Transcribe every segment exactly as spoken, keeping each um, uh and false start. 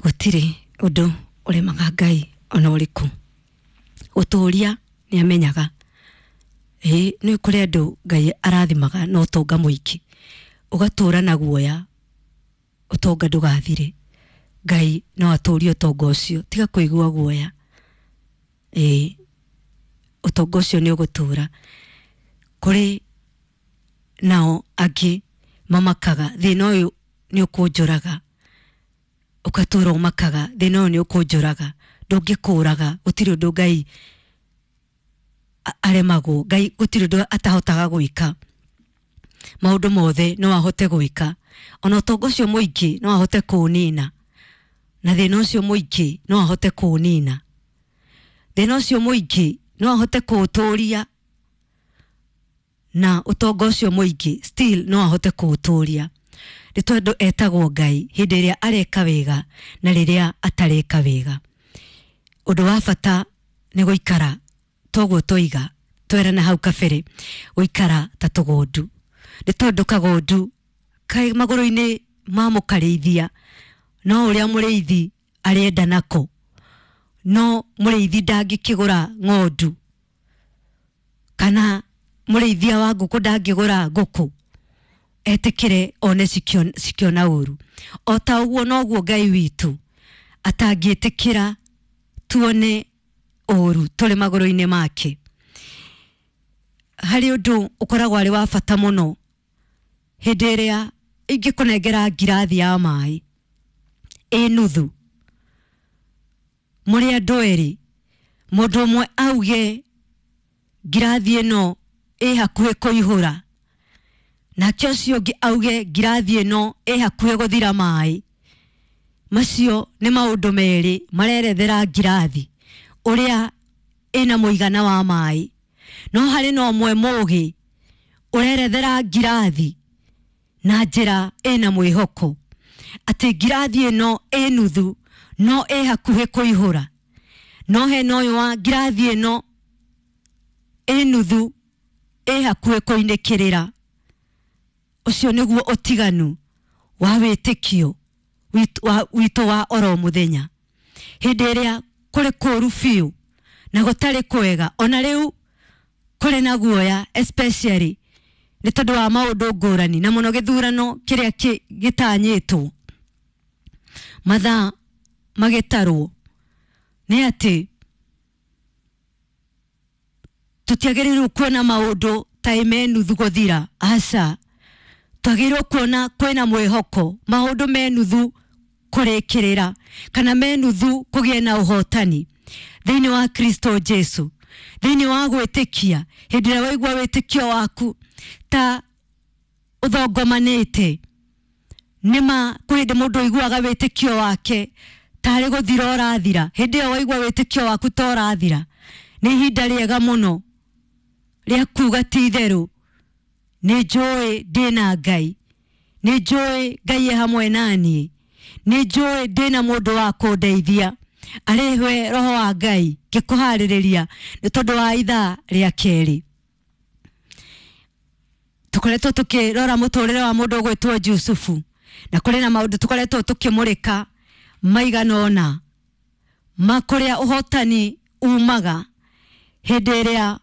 Gũtirĩ ũndũ ũremaga Ngai ona ũrĩkũ. Gũtũria nĩ amenyaga. Ĩĩ nĩ kũrĩ andũ Ngai arathimaga na ũtonga mũingĩ, ũgatũra na guoya ũtonga ndũgathire. Ngai no atũrie ũtonga ũcio, tiga kũigua guoya. Ĩĩ ũtonga ũcio nĩ ũgũtũra. Kũrĩ nao angĩ mamakaga thĩna ũyũ nĩ ũkũnjũraga, ũgatũra ũmakaga thĩna ũyũ nĩ ũkũnjũraga, ndũngĩkũraga. Gũtirĩ ũndũ Ngai aremagwo, Ngai gũtirĩ ũndũ atahotaga gwĩka. Maũndũ mothe no ahote gwĩka, ona ũtonga ũcio mũingĩ no ahote kũũnina, na thĩna ũcio mũingĩ no ahote kũũnina, thĩna ũcio mũingĩ no ahote kũũtũria, na ũtonga ũcio mũingĩ still no ahote kũũtũria. Nĩ tondũ etagwo Ngai hĩndĩ ĩrĩa areka wega na rĩrĩa atareka wega. Ũndũ wa bata nĩ gũikara toguo twoiga twerana hau kabere, gũikara ta tũgondu. Nĩ tondũ kagondu kaĩ magũrũ-inĩ ma mũkarĩithia, no ũrĩa mũrĩithi arenda nako, no mũrĩithi ndangĩkĩgũra ng'ondu, kana mũrĩithia wa ngũkũ ndangĩgũra ngũkũ etĩkĩre one cikĩona ũru. O ta ũguo noguo Ngai witũ atangĩtĩkĩra tuone ũru tũrĩ magũrũ-inĩ make. Harĩ ũndũ ũkoragwo arĩ wa bata mũno hĩndĩ ĩrĩa ingĩkũnengera ngirathi ya maĩ ĩ nuthu, mũrĩ andũ erĩ, mũndũ ũmwe auge ngirathi ĩno ĩ hakuhĩ kũihũra, nake ũcio ũngĩ auge ngirathi ĩno ĩ hakuhĩ gũthira maĩ. Macio nĩ maũndũ merĩ marerethera ngirathi ũrĩa ĩna mũigana wa maĩ. No harĩ na ũmwe mũgĩ ũrerethera ngirathi na njĩra ĩna mwĩhoko atĩ ngirathi ĩno ĩ nuthu no ĩ hakuhĩ kũihũra, no hena ũyũ wa ngirathi ĩno ĩ nuthu ĩ hakuhĩ kũinĩkĩrĩra. Ũcio nĩguo ũtiganu wa wĩtĩkio witũ wa oro mũthenya. Hĩndĩ ĩrĩa kũrĩ kũru biũ na gũtarĩ kwega, ona rĩu kũrĩ na guoya especially nĩ tondũ wa maũndũ ngũrani, na mũno gĩthurano kĩrĩa gĩtanyĩtwo mathaa magĩtarwo, nĩ atĩ tũtiagĩrĩirwo kuona maũndũ ta me nuthu gũthira. Aca, twagĩrĩirwo kuona kwĩna mwĩhoko, maũndũ me nuthu kũrĩkĩrĩra, kana me nuthu kũgĩa na ũhotani thĩinĩ wa Kristo Jesu, thĩinĩ wa gwĩtĩkia. Hĩndĩ ĩrĩa waigua wĩtĩkio waku ta ũthongomanĩte, nĩma kwĩ hĩndĩ mũndũ ũiguaga wĩtĩkio wake tarĩ gũthira ũrathira. Hĩndĩ ĩyo waigua wĩtĩkio waku ta ũrathira, nĩ ihinda rĩega mũno rĩa kuga ti itherũ nĩ njũĩ ndĩna Ngai, nĩ njũĩ Ngai e hamwe naniĩ, nĩ njũĩ ndĩna mũndũ wa kũndeithia, arĩ we Roho wa Ngai ngĩkũharĩrĩria nĩ tondũ wa ithaa rĩa kerĩ. Tũkoretwo tũkĩrora mũtũrĩre wa mũndũ ũgwĩtwo Jusufu, na kũrĩ na maũndũ tũkoretwo tũkĩmũrĩka maigana ũna ma kũrĩa ũhotani umaga hĩndĩ ĩrĩa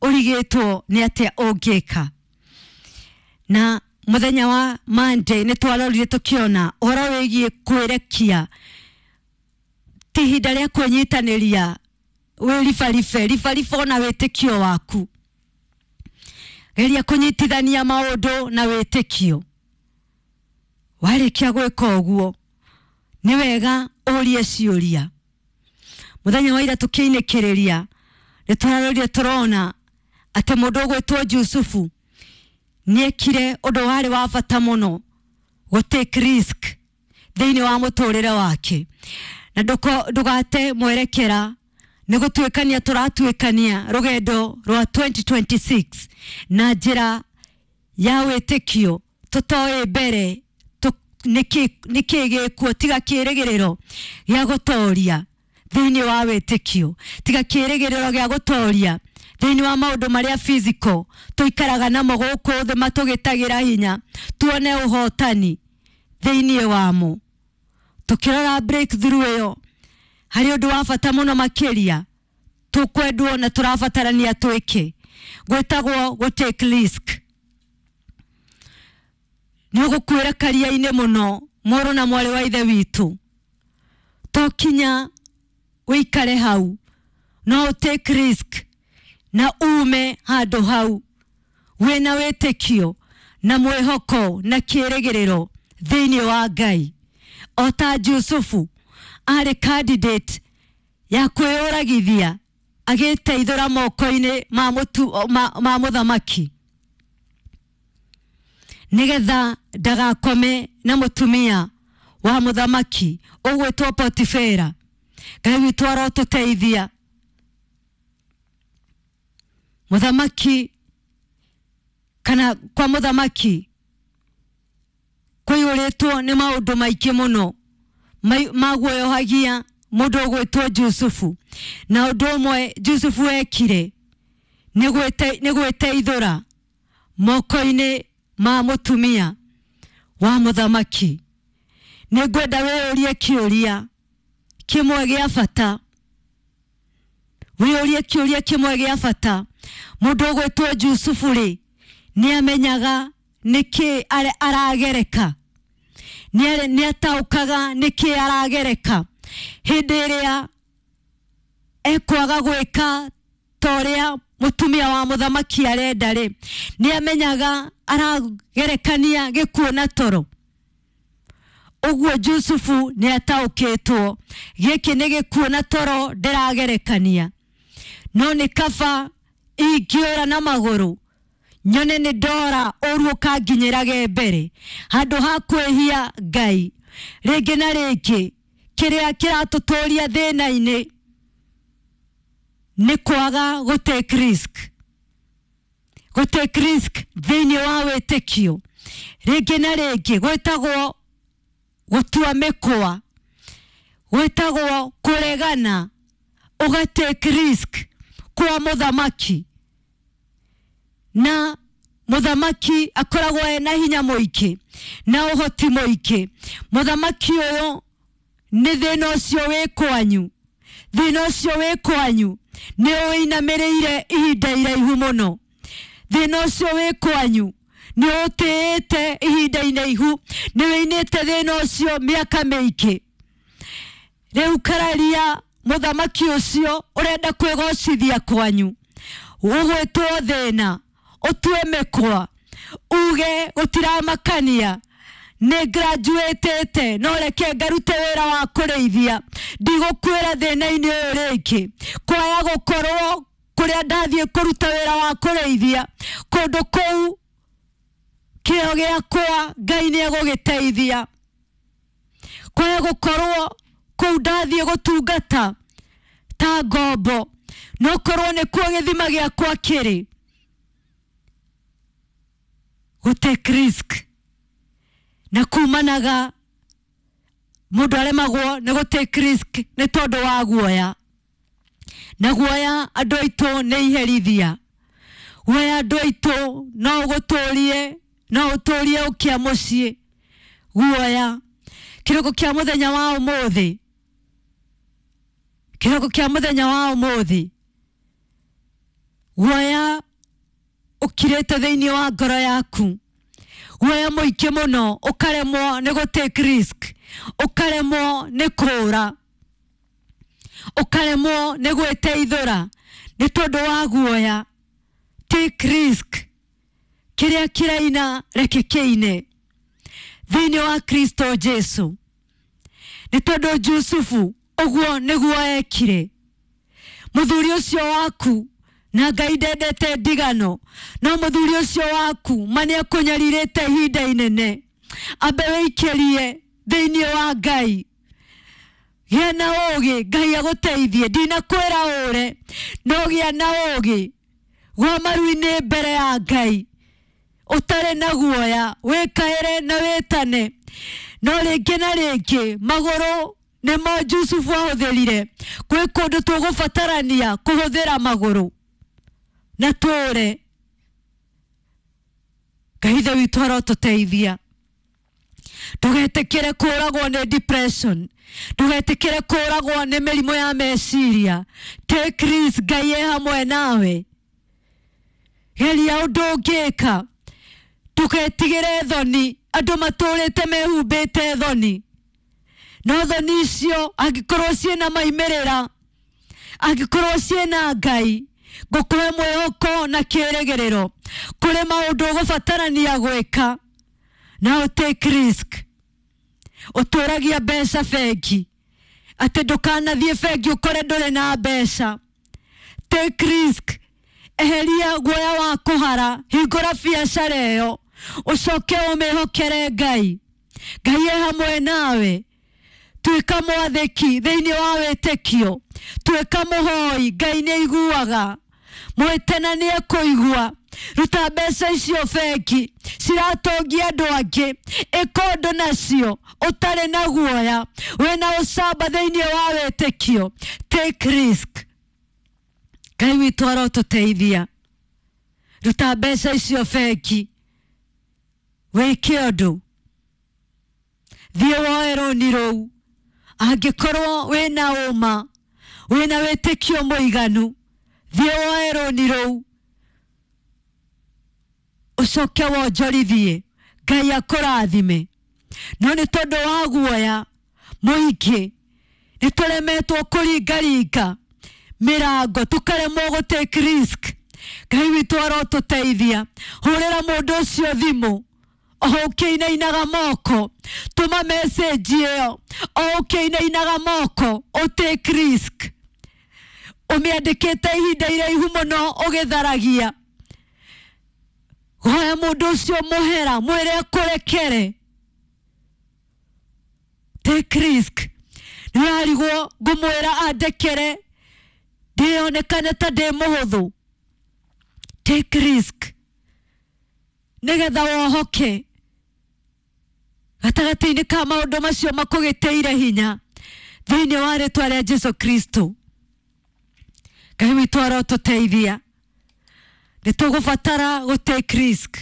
ũrigĩtwo nĩ atĩa ũngĩka. Na mũthenya wa Monday nĩ twarorire tũkĩona ũhoro wĩgiĩ kwĩrekia, ti ihinda rĩa kwĩnyitanĩria wĩribaribe ribaribe ona wĩtĩkio waku. Geria kũnyitithania maũndũ na wĩtĩkio. Warĩkia gwĩka ũguo nĩ wega ũrie ciũria. Mũthenya wa ira tũkĩinĩkĩrĩria nĩ tũrarorire tũrona atĩ mũndũ ũgwĩtwo Jusufu nĩekire ũndũ warĩ wa bata mũno, gũ take risk thĩinĩ wa mũtũrĩre wake. Na ndũgate mwerekera, nĩ gũtuĩkania tũratuĩkania rũgendo rwa twenty twenty-six na njĩra ya wĩtĩkio, tũtoĩ mbere nĩkĩ gĩkuo, tiga kĩrĩgĩrĩro gĩa gũtoria thĩinĩ wa wĩtĩkio, tiga kĩrĩgĩrĩro gĩa gũtoria thĩinĩ wa maũndũ marĩa physical tũikaraga namo gũkũ thĩ matũgĩtagĩra hinya, tuone ũhotani thĩinĩ wamo. Tukirora breakthrough ĩyo harĩ ũndũ wa bata mũno makĩria tũkwendwo na tũrabatarania twĩke, gwĩtagwo gũ take risk. Nĩ ũgũkuĩra karia-inĩ mũno mũrũ na mwarĩ wa ithe witũ, to kinya wĩikare hau, no take risk na ume handũ hau wĩna wĩtĩkio na mwĩhoko na kĩrĩgĩrĩro thĩinĩ wa Ngai. O ta Jusufu arĩ candidate ya kwĩyũragithia agĩteithũra moko-inĩ ma mũtu, ma, ma mũthamaki nĩgetha ndagakome na mũtumia wa mũthamaki ũgwĩtwo Potifera. Ngai witũ arotũteithia. Mũthamaki kana kwa mũthamaki kũiyũrĩtwo nĩ maũndũ maingĩ mũno maguoyohagia mũndũ ũgwĩtwo Jusufu. Na ũndũ ũmwe Jusufu ekire nĩ gwĩteithũra moko-inĩ ma mũtumia wa mũthamaki. Nĩ ngwenda wĩyũrie kĩũria kĩmwe gĩa bata, wĩyũrie kĩũria kĩmwe gĩa bata. Mũndũ ũgwĩtwo Jusufu rĩ, nĩ amenyaga nĩkĩ aragereka, nĩ ataũkaga nĩkĩ aragereka hĩndĩ ĩrĩa ekwaga gwĩka ta ũrĩa mũtumia wa mũthamaki arenda rĩ, nĩ amenyaga aragerekania gĩkuũ na toro. Ũguo Jusufu nĩ ataũkĩtwo gĩkĩ nĩ gĩkuũ na toro ndĩragerekania, no nĩ kaba ingĩũra na magũrũ nyone nĩ ndora ũru ũkanginyĩrage mbere handũ ha kwĩhia Ngai. Rĩngĩ na rĩngĩ kĩrĩa kĩratũtũria thĩna-inĩ nĩ kwaga gũ take risk, gũ take risk thĩinĩ wa wĩtĩkio. Rĩngĩ na rĩngĩ gwĩtagwo gũtua mĩkwa, gwĩtagwo kũregana, ũga take risk kwa mũthamaki. Na mũthamaki akoragwo ena hinya mũingĩ na ũhoti mũingĩ. Mũthamaki ũyũ nĩ thĩna ũcio wĩ kwanyu, thĩna ũcio wĩ kwanyu nĩ ũinamĩrĩire ihinda iraihu mũno. Thĩna ũcio wĩ kwanyu nĩ ũtĩĩte ihinda iraihu, nĩ wĩinĩte thĩna ũcio mĩaka mĩingĩ. Rĩu kararia mũthamaki ũcio ũrenda kwĩgocithia kwanyu, ũgwĩtwo thĩna, ũtue mĩkwa, uge gũtiramakania, nĩ graduatete no reke ngarute wĩra wa kũrĩithia, ndigũkuĩra thĩna-inĩ ũyũ rĩngĩ. Kwaya gũkorwo kũrĩa ndathiĩ kũruta wĩra wa kũrĩithia kũndũ kũu kĩo gĩakwa Ngai nĩ egũgĩteithia. Kwaya gũkorwo kũu ndathiĩ gũtungata ta ngombo, no korwo nĩkuo gĩthima gĩakwa kĩrĩ. Gũ take risk na kumanaga mũndũ aremagwo nĩ gũ take risk nĩ tondũ wa guoya. Na guoya andũ aitũ nĩ iherithia. Guoya andũ aitũ no ũgũtũrie, no ũtũrie ũkĩa mũciĩ. Guoya kĩroko kĩa mũthenya wa ũmũthĩ, kĩroko kĩa mũthenya wa ũmũthĩ, guoya ũkirĩte thĩinĩ wa ngoro yaku, guoya mũingĩ mũno, ũkaremwo nĩ gũ take risk, ũkaremwo nĩ kũũra, ũkaremwo nĩ gwĩteithũra nĩ tondũ wa guoya. Take risk, kĩrĩa kĩraina reke kĩine thĩinĩ wa Kristo Jesu. Nĩ tondũ Jusufu ũguo nĩguo ekire. Mũthuri ũcio waku na Ngai ndendete ndigano, no mũthuri ũcio waku ma nĩ akũnyarirĩte ihinda inene, ambe wĩikĩrie thĩinĩ wa Ngai. Gĩa na ũũgĩ, Ngai agũteithie. Ndinakwĩra ũre, no gĩa na ũũgĩ, gwa maru-inĩ mbere ya Ngai ũtarĩ na guoya, wĩkaĩre na wĩtane. No rĩngĩ na rĩngĩ magũrũ nĩmo Jusufu ahũthĩrire. Kwĩ kũndũ tũgũbatarania kũhũthĩra magũrũ na tũũre. Ngai Ithe witũ arotũteithia. Ndugetikire kuragwo ni depression, ndugetikire kuragwo ni mĩrimũ ya meciria. Take risk, Ngai e hamwe nawe. Geria ũndũ ũngĩka, ndugetigĩre thoni. Andũ matũrĩte mehumbĩte thoni, no thoni icio angĩkorwo ciĩna maimĩrĩra, angĩkorwo ciĩna Ngai, ngũkũhe mwĩhoko na kĩrĩgĩrĩro. Kũrĩ maũndũ ũgũbatarania gwĩka na ũtake risk. Ũtũragia mbeca bengi, atĩ ndũkanathiĩ bengi ũkore ndũrĩ na mbeca. Take risk, eheria guoya wa kũhara, hingũra biacara ĩyo, ũcoke ũmĩhokere Ngai. Ngai e hamwe nawe. Tuĩka mwathĩki thĩinĩ wa wĩtĩkio, tuĩka mũhoi, Ngai nĩ aiguaga. Mwĩte na nĩ ekũigua. Ruta mbeca icio bengi ciratongia andũ angĩ, ĩka ũndũ nacio ũtarĩ na guoya, wĩna ũcamba thĩinĩ wa wĩtĩkio. Take risk. Ngai witũ arotũteithia. Ruta mbeca icio bengi, wĩke ũndũ, thiĩ woe rũni rũu. Angĩkorwo wĩna ũma, wĩna wĩtĩkio mũiganu, thiĩ woe rũni rũu, ũcoke wonjorithie, Ngai akũrathime. No nĩ tondũ wa guoya mũingĩ nĩ tũremetwo kũringaringa mĩrango, tũkaremwo gũ take risk. Ngai witũ arotũteithia. Hũrĩra mũndũ ũcio thimũ o ũkĩinainaga moko, tũma message ĩyo o ũkĩinainaga moko, ũ take risk. Ũmĩandĩkĩte ihinda iraihu mũno ũgĩtharagia. Hoya mũndũ ũcio mũhera, mwĩre akũrekere. Take risk. Nĩ ũrarigwo ngũmwĩra andekere ndĩonekane ta ndĩ mũhũthũ. Take risk nĩgetha wohoke gatagatĩ-inĩ ka maũndũ macio makũgĩtĩire hinya thĩinĩ wa rĩtwa rĩa Jesu Kristo. Ngai witũ arotũteithia. Nĩ tũgũbatara gũ take risk.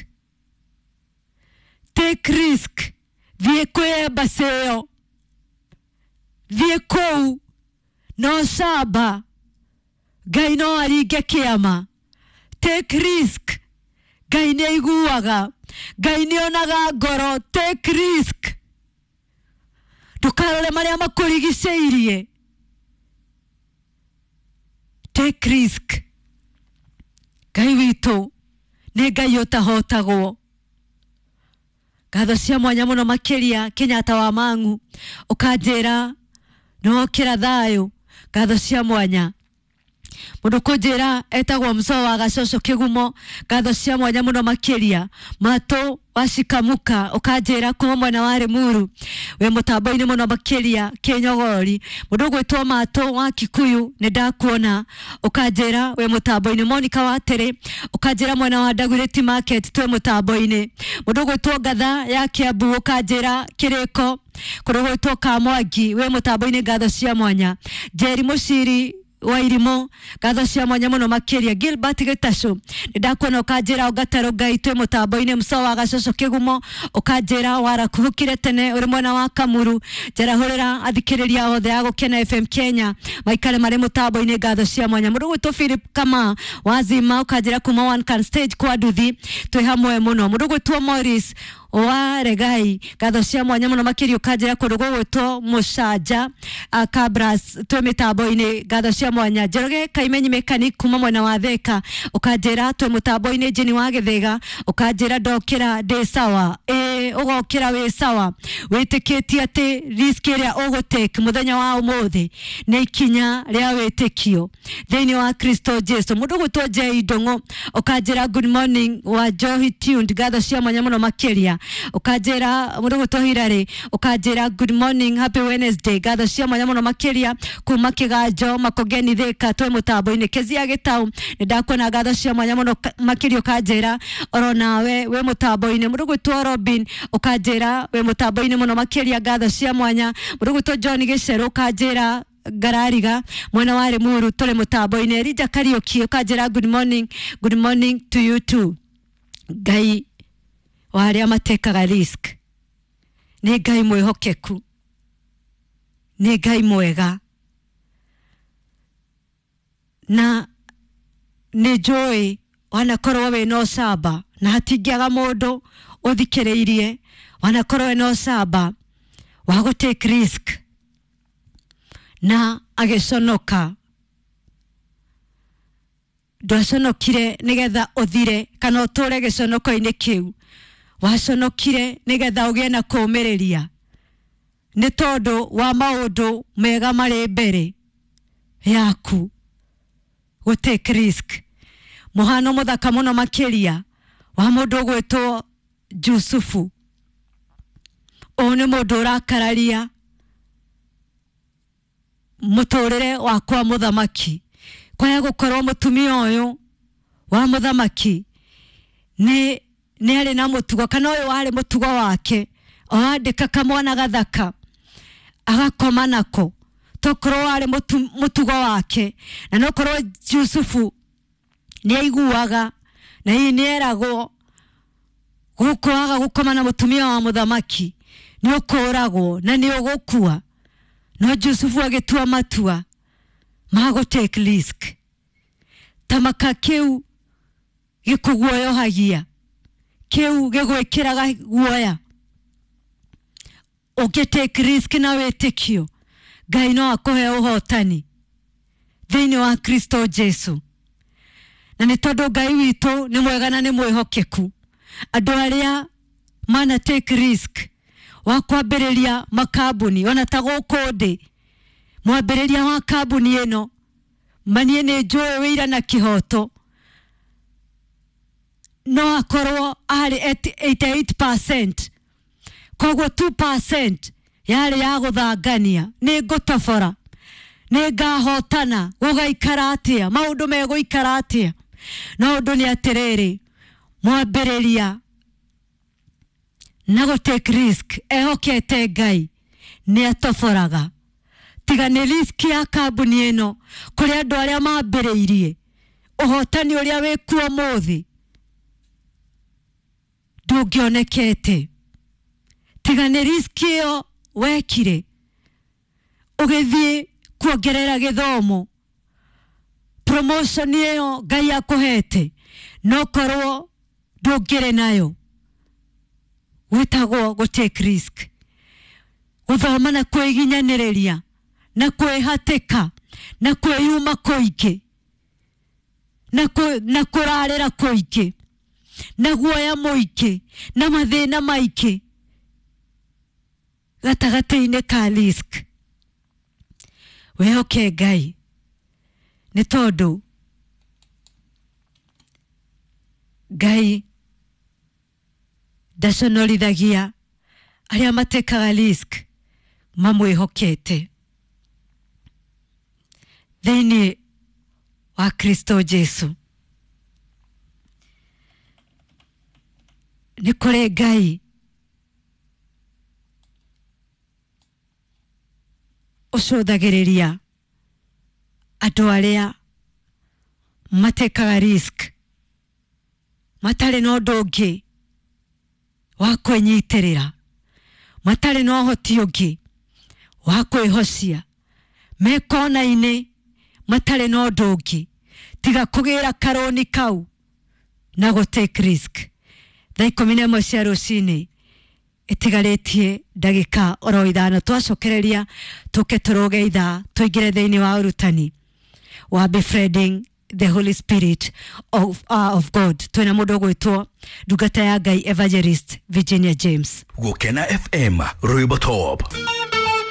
Take risk. Thiĩ kwĩ embassy ĩyo, thiĩ kũu no camba, Ngai no aringe kĩama. Take risk. Ngai nĩ aiguaga, Ngai nĩ onaga ngoro. Take risk. Ndũkarore marĩa makũrigicĩirie. Take risk. Ngai witũ nĩ Ngai ũtahotagwo. Ngatho cia mwanya mũno makĩria Kenyatta wa Mang'u, ũkanjĩra nĩwokĩra thayũ. Ngatho cia mwanya. Mũndũ kũnjĩra etagwo Mzoo wa Gacoco Kĩgumo, ngatho cia mwanya mũno makĩria. Matũ wa Cikamuka, ũkanjĩra kuma mwena wa Limuru, wĩ mũtambo-inĩ mũno makĩria Kĩnyogori. Mũndũ ũgwĩtwo Matũ wa Kikuyu, nĩ ndakuona, ũkanjĩra wĩ mũtambo-inĩ. Monica wa Terĩ, ũkanjĩra mwena wa Dagoretti Market twĩ mũtambo-inĩ. Mũndũ ũgwĩtwo Ngatha ya Kiambu, ũkanjĩra Kĩrĩko, kũndũ gwĩtwo Kamwangi, wĩ mũtambo-inĩ, ngatho cia mwanya. Njeri Mũciri wa Irimũ, ngatho cia mwanya mũno makĩria. Gilbert Gĩtacũ, nĩ ndakuona, ũkanjĩra Ũngatero Ngai twĩ mũtambo-inĩ. Mũco wa Gacoco Kĩgumo, ũkanjĩra warakuhũkire tene ũrĩ mwena wa Kamuru. Njarahũrĩra athikĩrĩria othe a Gũkena F M Kenya maikare marĩ mũtambo-inĩ, ngatho cia mwanya. Mũndũ ũgwĩtwo Philip Kama Wazima, ũkanjĩra kuma One Can Stage kwa Nduthi, twĩ hamwe mũno. Mũndũ ũgwĩtwo Morris wa Regai, ngatho cia mwanya mũno makĩria, ũkanjĩra kũndũ gũgwĩtwo Mũcanja Kabras twĩ mĩtambo-inĩ, ngatho cia mwanya. Njoroge Kaimenyi Mechanic kuma mwena wa Thika, ũkanjĩra twĩ mũtambo-inĩ. Jeni wa Gĩthĩga, ũkanjĩra ndokĩra ndĩ sawa. Ĩ ũgokĩra wĩ sawa, wĩtĩkĩtie atĩ risk ĩrĩa ũgũtake mũthenya wa ũmũthĩ nĩ ikinya rĩa wĩtĩkio thĩinĩ wa Kristo Jesu. Mũndũ ũgwĩtwo Jay Ndũng'ũ, ũkanjĩra good morning wa Johi Tuned, ngatho cia mwanya mũno makĩria. Ũkanjĩra mũndũ ũgwĩtwo Hilary, ũkanjĩra good morning, happy Wednesday, ngatho cia mwanya mũno makĩria kuma Kĩganjo Makongeni Thika twĩ mũtambo-inĩ. Kezia Gĩtau, nĩ ndakuona, ngatho cia mwanya mũno makĩria, ũkanjĩra oro nawe wĩ mũtambo-inĩ. Mũndũ ũgwĩtwo Robin, ũkanjĩra wĩ mũtambo-inĩ mũno makĩria, ngatho cia mwanya. Mũndũ ũgwĩtwo John Gĩcerũ, ũkanjĩra Ngarariga mwena wa Limuru tũrĩ mũtambo-inĩ. Elijah Kariũki, ũkanjĩra good morning, good morning to you too. Ngai wa arĩa matekaga risk Nĩ Ngai mwĩhokeku, nĩ Ngai mwega, na nĩ njũĩ wanakorwo wĩna ũcamba, na hatingĩaga mũndũ ũthikĩrĩirie wanakorwo wĩna ũcamba wa gũ take risk na agĩconoka. Ndwaconokire nĩgetha ũthire kana ũtũre gĩconoko-inĩ kĩu, waconokire nĩgetha ũgĩe na kũũmĩrĩria nĩ tondũ wa maũndũ mega marĩ mbere yaku. Gũ take risk mũhano mũthaka mũno makĩria wa mũndũ ũgwĩtwo Jusufu. Ũyũ nĩ mũndũ ũrakararia mũtũrĩre wa kwa mũthamaki. Kwaya gũkorwo mũtumia ũyũ wa mũthamaki nĩ nĩ arĩ na mũtugo, kana ũyũ warĩ mũtugo wake, oandĩka kamwana gathaka agakoma nako, tokorwo warĩ mũtugo wake, na nokorwo Jusufu nĩ aiguaga na hihi nĩ eragwo gũkũ waga gũkoma na mũtumia wa mũthamaki nĩ ũkũragwo na nĩ ũgũkua. No Jusufu agĩtua matua ma gũ take risk. Tamaka kĩu gĩkũguoyohagia, kĩu gĩgwĩkĩraga guoya. Ũngĩ take risk na wĩtĩkio, Ngai no akũhe ũhotani thĩinĩ wa Kristo Jesu. Na nĩ tondũ Ngai witũ nĩ mwega na nĩ mwĩhokeku, andũ arĩa mana take risk wa kwambĩrĩria makambuni, ona ta gũkũ ndĩ mwambĩrĩria wa kambuni ĩno, manie nĩ njũĩ wĩira na kĩhoto, no akorwo arĩ eighty-eight percent, koguo two percent yarĩ ya gũthangania. Nĩ ngũtobora, nĩ ngahotana, gũgaikara atĩa, maũndũ megũikara atĩa. No ũndũ nĩ atĩrĩrĩ, mwambĩrĩria na gũ take risk ehokete Ngai nĩ atoboraga. Tiga nĩ risk ya kambuni ĩno kũrĩ andũ arĩa mambĩrĩirie, ũhotani ũrĩa wĩkuo ũmũthĩ ndũngĩonekete. Tiga nĩ risk ĩyo wekire ũgĩthiĩ kuongerera gĩthomo, promotion ĩyo Ngai akũhete no korwo ndũngĩrĩ nayo. Gwĩtagwo gũ take risk, gũthoma na kwĩginyanĩrĩria na kwĩhatĩka na kwĩyuma kũingĩ na kũrarĩra kũingĩ na guoya mũingĩ na mathĩna maingĩ gatagatĩ-inĩ ka risk. Wĩhoke Ngai nĩ tondũ Ngai ndaconorithagia arĩa matekaga risk mamwĩhokete thĩinĩ wa Kristo Jesu. Nĩ kũrĩ Ngai ũcũthagĩrĩria andũ arĩa matekaga risk matarĩ na ũndũ ũngĩ wa kwĩnyitĩrĩra, matarĩ na ũhoti ũngĩ wa kwĩhocia, me kona-inĩ matarĩ na ũndũ ũngĩ tiga kũgĩra karũni kau na gũ take risk. Thaa ikũmi na ĩmwe cia rũcinĩ ĩtigarĩtie ndagĩka oro ithano, twacokereria tũke tũrũge ithaa tũingĩre thĩinĩ wa ũrutani wa befriending the Holy Spirit of, uh, of God. Twĩna mũndũ ũgwĩtwo ndungata ya Ngai Evangelist Virginia James. Gũkena F M Rwĩmbo Top.